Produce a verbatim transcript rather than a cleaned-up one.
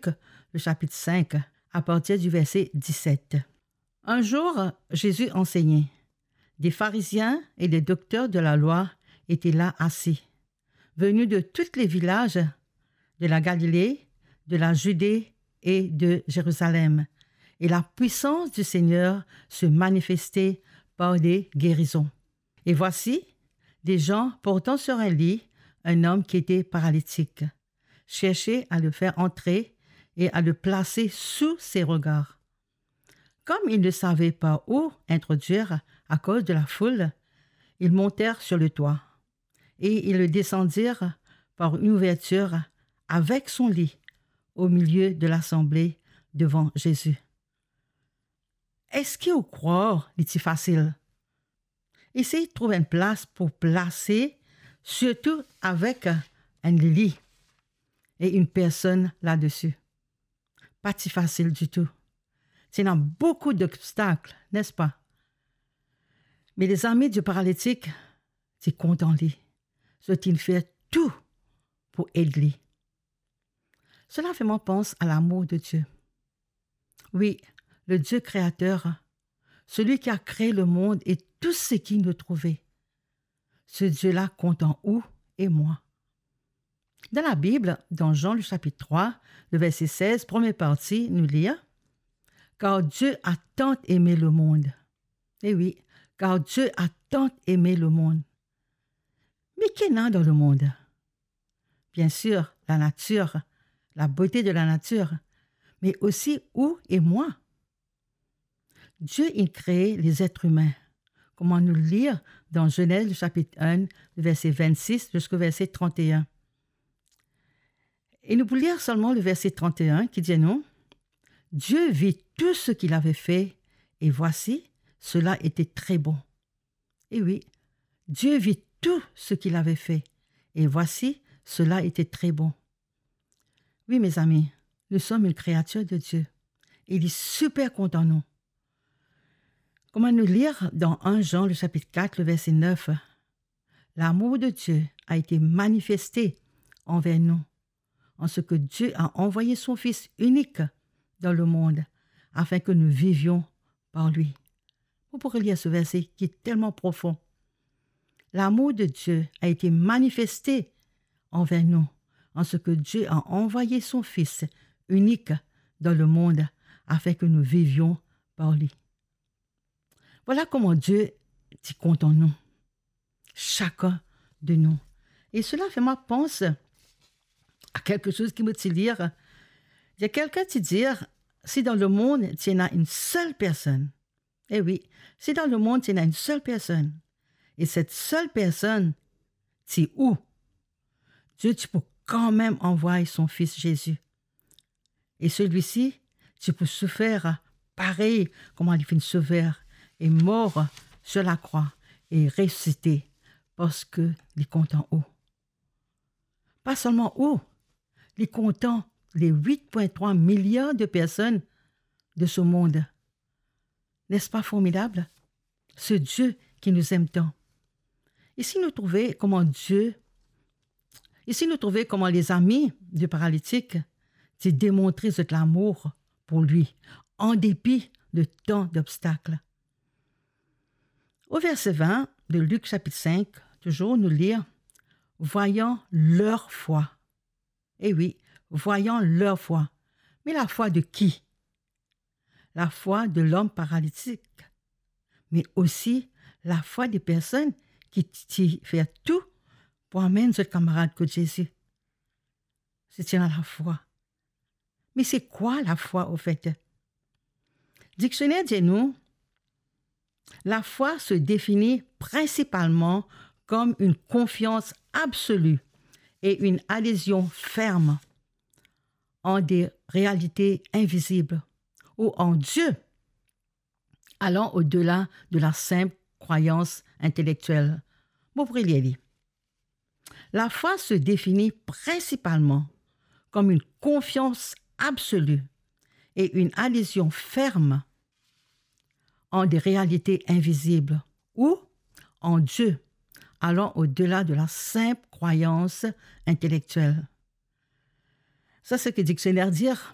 Luc, le chapitre cinq, à partir du verset dix-sept. Un jour, Jésus enseignait. Des pharisiens et des docteurs de la loi étaient là assis, venus de tous les villages de la Galilée, de la Judée et de Jérusalem. Et la puissance du Seigneur se manifestait par des guérisons. Et voici, des gens portant sur un lit un homme qui était paralytique cherchaient à le faire entrer et à le placer sous ses regards. Comme ils ne savaient pas où introduire à cause de la foule, ils montèrent sur le toit et ils le descendirent par une ouverture avec son lit au milieu de l'assemblée devant Jésus. Eski ou krwar li ti fasil? Esey trouv enn plas pou plase, sirtou avek enn lili e enn personn ladesi. Pa ti fasil ditou. Ti ena boukou dobstak, nespa? Me lezami di paralitik ti kontan li. Zot inn fer tou pou ed li. Cela fait moi penser à l'amour de Dieu. Oui, le Dieu créateur, celui qui a créé le monde et tout ce qui nous trouvait. Ce Dieu-là content ou et moi. Dans la Bible, dans Jean le chapitre trois, le verset seize, première partie, nous lir, car Dieu a tant aimé le monde. Eh oui, car Dieu a tant aimé le monde. Me ki ena dan lemond? Bien sûr, la nature, la beauté de la nature, mais aussi ou et moi. Dieu, il crée les êtres humains, kouma nou lir dan Genèse, le chapitre un, le verset vingt-six jusqu'au verset trente et un. E nou pou lir selman le verset trente et un ki dir nou, Dieu vit tout ce qu'il avait fait, et voici, cela était très bon. Et oui, Dieu vit tout ce qu'il avait fait, et voici, cela était très bon. Oui, mes amis, nous sommes une créature de Dieu. Il est super content, non? Kouma nou lir dan un Jean, le chapitre quatre, le verset neuf, l'amour de Dieu a été manifesté envers nous, en ce que Dieu a envoyé son Fils unique dans le monde, afin que nous vivions par lui. Vous pourrez lire ce verset qui est tellement profond. L'amour de Dieu a été manifesté envers nous, en ce que Dieu a envoyé son Fils unique dans le monde, afin que nous vivions par lui. Voilà comment Dieu ti kontan nou, chacun de nous. Et cela fait moi penser à quelque chose ki mo ti lir. Il y a quelqu'un qui dit, si dans le monde, ti ena une seule personne, eh oui, si dans le monde, ti ena une seule personne, et cette seule personne, ti ou, Dieu ti pou kanmem anvway son Fils Jésus. E selwisi ti pou soufer parey kouma li finn soufer e mor sur lakrwa e resisite, parski li kontan ou. Pa selman ou, li kontan les huit point trois milliards de personnes de ce monde. N'est-ce pas formidable? Ce Dieu qui nous aime tant. Isi nou trouve kouma Dieu, isi nou trouve kouma lezami de paralitik ti demontre zot lamour pou li, an depi de tan d'obstak. Au verset vingt de Luc chapitre cinq, toujours, nous lire, voyant leur foi. Eh oui, voyant leur foi. Mais la foi de qui? La foi de l'homme paralytique, mais aussi la foi des personnes ki ti fer tou pou amenn zot kamarad kot Zezi. Se ti ena lafwa. Me se kwa lafwa, ofet? Diksioner dir nou, la foi se définit principalement comme une confiance absolue et une adhésion ferme en des réalités invisibles ou en Dieu allant au-delà de la simple croyance intellectuelle. Mo pou relir li. La foi se définit principalement comme une confiance absolue et une adhésion ferme en des réalités invisibles ou en Dieu, allant au-delà de la simple croyance intellectuelle. Sa seki diksioner dir,